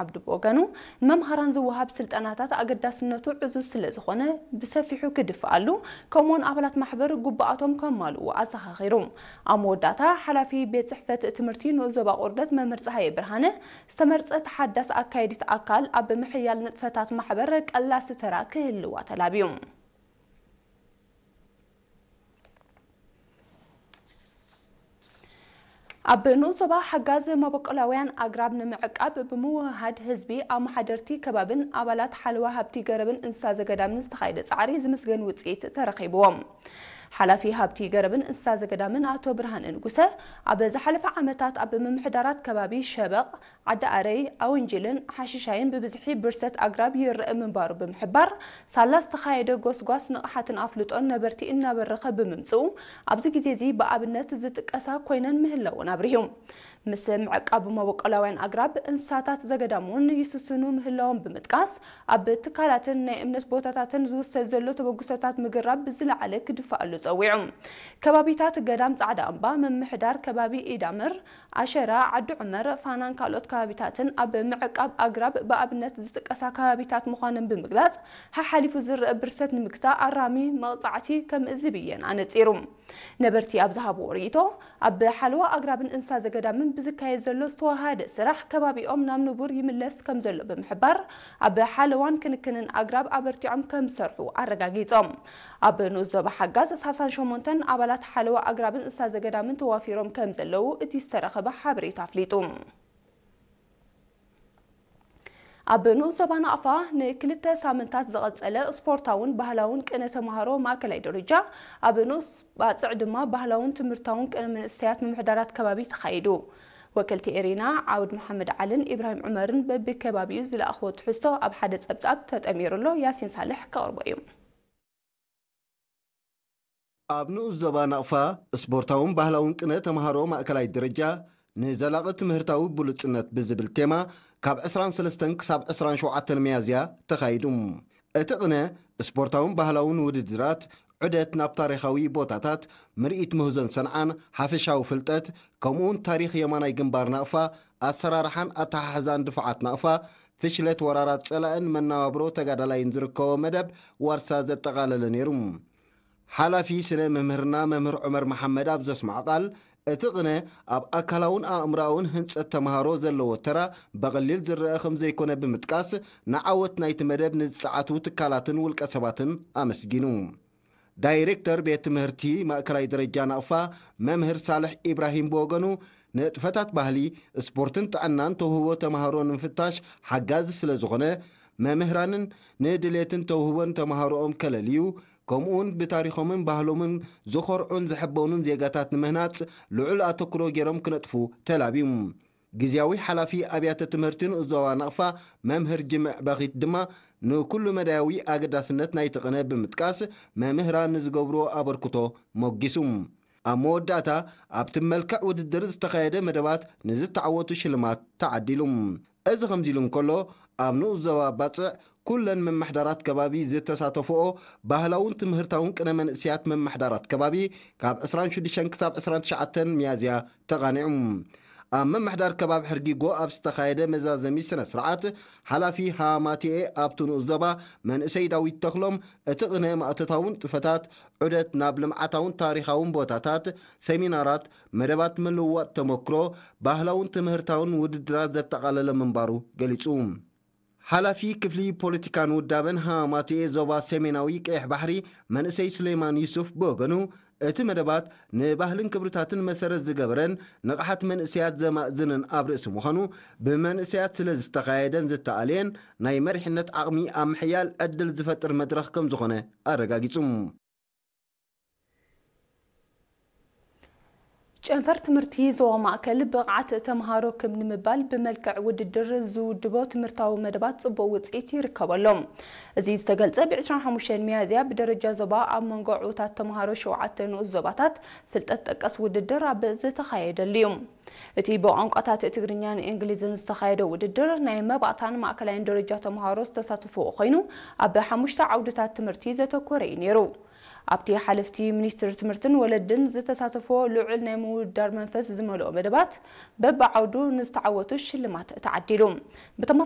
ዓብዱ ብወገኑ፣ ንመምሃራን ዝወሃብ ስልጠናታት ኣገዳስነቱ ዕዙዝ ስለ ዝኾነ ብሰፊሑ ክድፍኣሉ፣ ከምኡውን ኣባላት ማሕበር ግቡኣቶም ከማልኡ ኣዘኻኺሩ። ኣብ መወዳእታ፣ ሓላፊ ቤት ጽሕፈት ትምህርቲ ንኡስ ዞባ ቁርደት መምህር ጸሃየ ብርሃነ፣ ዝተመርጸት ሓዳስ ኣካየዲት ኣካል ኣብ ምሕያል ንጥፈታት ማሕበር ቀላሲ ተራ ክህልዋ ተላብዩ። ኣብ ንኡስ ዞባ ሓጋዝ መበቆላውያን ኣግራብ ንምዕቃብ ብምውህሃድ ህዝቢ፣ ኣመሓደርቲ ከባብን ኣባላት ሓለዋ ሃብቲ ገረብን እንስሳ ዘገዳምን ዝተኻየደ ጻዕሪ ዝምስገን ውጽኢት ተረኺብዎም። ሓላፊ ሃብቲ ገረብን እንስሳ ዘገዳምን ኣቶ ብርሃነ ንጉሰ፣ ኣብ ዝሓለፈ ዓመታት ኣብ ምምሕዳራት ከባቢ ሸበቕ፣ ዓዲ ኣረይ፣ ኣውንጅልን ሓሽሻይን ብብዝሒ ብርሰት ኣግራብ ይረአ ምንባሩ ብምሕባር፣ ሳላ ዝተኻየደ ጎስጓስ ንቕሓትን ኣፍልጦን ነበርቲ እናበረኸ ብምምጽኡ፣ ኣብዚ ግዜ እዚ ብኣብነት ዝጥቀሳ ኮይነን ምህላወን ኣብሪሁ። ምስ ምዕቃብ መበቆላውያን ኣግራብ፣ እንስሳታት ዘገዳም እውን ይስስኑ ምህላዎም ብምጥቃስ፣ ኣብ ትካላትን ናይ እምነት ቦታታትን ዝውሰድ ዘሎ ተበግሶታት ምግራብ ብዝለዓለ ክድፋኣሉ ጸዊዑ። ከባቢታት ገዳም ጻዕዳ እምባ፣ ምምሕዳር ከባቢ ኢዳምር፣ ኣሸራ፣ ዓዲ ዑመር፣ ፋናን ካልኦት ከባቢታትን ኣብ ምዕቃብ ኣግራብ ብኣብነት ዝጥቀሳ ከባቢታት ምዃነን ብምግላጽ፣ ሓሓሊፉ ዝረአ ብርሰት ንምግታእ ኣራሚ መቕጻዕቲ ከም ዝብየን ኣነጺሩ። ነበርቲ ኣብ ዝሃብዎ ርእይቶ፣ ኣብ ሓለዋ ኣግራብን እንስሳ ዘገዳምን ብዝካየድ ዘሎ ዝተዋሃደ ስራሕ፣ ከባቢኦም ናብ ንቡር ይምለስ ከም ዘሎ ብምሕባር፣ ኣብ ሓለዋን ክንክንን ኣግራብ ኣበርቲዖም ከም ዝሰርሑ ኣረጋጊጾም። ኣብ ንኡስ ዞባ ሓጋዝ፣ ሰላሳን ሸሞንተን ኣባላት ሓለዋ ኣግራብን እንስሳ ዘገዳምን ተዋፊሮም ከም ዘለዉ እቲ ዝተረኸበ ሓበሬታ ኣፍሊጡ። ኣብ ንኡስ ዞባ ናቕፋ ንክልተ ሳምንታት ዝቐጸለ ስፖርታውን ባህላውን ቅነ ተምሃሮ ማእከላይ ደረጃ፣ ኣብ ንኡስ ባጽዕ ድማ ባህላውን ትምህርታውን ቅነ መንእሰያት ምምሕዳራት ከባቢ ተኻይዱ። ወከልቲ ኤሪና ዓውድ መሓመድ ዓልን ኢብራሂም ዑመርን በብከባቢኡ ዝለኣኽዎ ትሕዝቶ ኣብ ሓደ ጸብጻብ ተጠሚሩ ኣሎ። ያሲን ሳልሕ ከቕርቦ እዩ። ኣብ ንኡስ ዞባ ናቕፋ ስፖርታውን ባህላውን ቅነ ተምሃሮ ማእከላይ ደረጃ ንዘላቒ ትምህርታዊ ብሉጽነት ብዝብል ቴማ ካብ ዕስራን ሰለስተን ክሳብ ዕስራን ሸውዓተን ሚያዝያ ተኻይዱ። እቲ ቅነ ስፖርታውን ባህላውን ውድድራት፣ ዑደት ናብ ታሪኻዊ ቦታታት፣ ምርኢት ምህዞን ሰንዓን፣ ሓፈሻዊ ፍልጠት፣ ከምኡውን ታሪኽ የማናይ ግንባር ናቕፋ፣ ኣሰራርሓን ኣተሓሕዛን ድፋዓት ናቕፋ፣ ፍሽለት ወራራት ጸላእን መነባብሮ ተጋዳላይን ዝርከቦ መደብ ዋርሳ ዘጠቓለለ ነይሩ። ሓላፊ ስነ መምህርና መምህር ዑመር መሓመድ ኣብ ዘስምዖ ቃል፣ እቲ ቅነ ኣብ ኣካላውን ኣእምሮኣውን ህንጸት ተምሃሮ ዘለዎ ተራ ብቐሊል ዝረኣ ከም ዘይኮነ ብምጥቃስ፣ ንዓወት ናይቲ መደብ ንዝጸዓቱ ትካላትን ውልቀ ሰባትን ኣመስጊኑ። ዳይሬክተር ቤት ትምህርቲ ማእከላይ ደረጃ ናቕፋ መምህር ሳልሕ ኢብራሂም ብወገኑ፣ ንጥፈታት ባህሊ፣ ስፖርትን ጥዕናን ተውህቦ ተምሃሮ ንምፍታሽ ሓጋዚ ስለ ዝኾነ፣ መምህራንን ንድሌትን ተውህቦን ተምሃሮኦም ከለልዩ፣ ከምኡውን ብታሪኾምን ባህሎምን ዝኾርዑን ዝሕበኑን ዜጋታት ንምህናጽ ልዑል ኣተኩሮ ገይሮም ክነጥፉ ተላብዩ። ግዝያዊ ሓላፊ ኣብያተ ትምህርቲ ንኡስ ዞባ ናቕፋ መምህር ጅምዕ በኺት ድማ ንኩሉ መዳያዊ ኣገዳስነት ናይቲ ቅነ ብምጥቃስ፣ መምህራን ንዝገብርዎ ኣበርክቶ ሞጊሱ። ኣብ መወዳእታ፣ ኣብቲ መልክዕ ውድድር ዝተኻየደ መደባት ንዝተዓወቱ ሽልማት ተዓዲሉ። እዚ ከምዚ ኢሉ እንከሎ፣ ኣብ ንኡስ ዞባ ባጽዕ ኩለን መማሕዳራት ከባቢ ዝተሳተፍኦ ባህላውን ትምህርታውን ቅነ መንእሰያት መማሕዳራት ከባቢ ካብ ዕስራን ሽዱሽተን ክሳብ ዕስራን ትሽዓተን ሚያዝያ ተቓኒዑ። ኣብ ምምሕዳር ከባቢ ሕርጊጎ ኣብ ዝተኻየደ መዛዘሚ ስነ ስርዓት፣ ሓላፊ ሃማቲኤ ኣብቲ ንኡስ ዞባ መንእሰይ ዳዊት ተኽሎም፣ እቲ ቅነ ማእቶታውን ጥፈታት ዑደት ናብ ልምዓታውን ታሪኻውን ቦታታት፣ ሰሚናራት፣ መደባት ምልውዋጥ ተመክሮ፣ ባህላውን ትምህርታውን ውድድራት ዘጠቓለለ ምንባሩ ገሊጹ። ሓላፊ ክፍሊ ፖለቲካን ውዳበን ሃማቲኤ ዞባ ሰሜናዊ ቀይሕ ባሕሪ መንእሰይ ሱሌማን ዩሱፍ ብወገኑ፣ እቲ መደባት ንባህልን ክብርታትን መሰረት ዝገበረን ንቕሓት መንእሰያት ዘማእዝንን ኣብ ርእሲ ምዃኑ፣ ብመንእሰያት ስለ ዝተኻየደን ዝተኣልየን ናይ መሪሕነት ዓቕሚ ኣብ ምሕያል ዕድል ዝፈጥር መድረኽ ከም ዝኾነ ኣረጋጊጹ። ጨንፈር ትምህርቲ ዞባ ማእከል ብቕዓት ተምሃሮ ክብ ንምባል ብመልክዕ ውድድር ዝውድቦ ትምህርታዊ መደባት ጽቡቕ ውጽኢት ይርከበሎም። እዚ ዝተገልጸ ብ ዕስራን ሓሙሽተን ሚያዝያ ብደረጃ ዞባ ኣብ መንጎ ዕዉታት ተምሃሮ ሸውዓተ ንኡስ ዞባታት ፍልጠት ጠቀስ ውድድር ኣብ ዝተኻየደሉ እዩ። እቲ ብቋንቋታት ትግርኛን እንግሊዝን ዝተኻየደ ውድድር ናይ መባእታን ማእከላይን ደረጃ ተምሃሮ ዝተሳተፍዎ ኮይኑ፣ ኣብ ሓሙሽተ ዓውድታት ትምህርቲ ዘተኮረ እዩ ነይሩ። ኣብቲ ሓለፍቲ ሚኒስትሪ ትምህርትን ወለድን ዝተሳተፍዎ ልዑል ናይ ምውድዳር መንፈስ ዝመልኦ መደባት፣ በብዓውዱ ንዝተዓወቱ ሽልማት ተዓዲሉ። ብተመሳሳሊ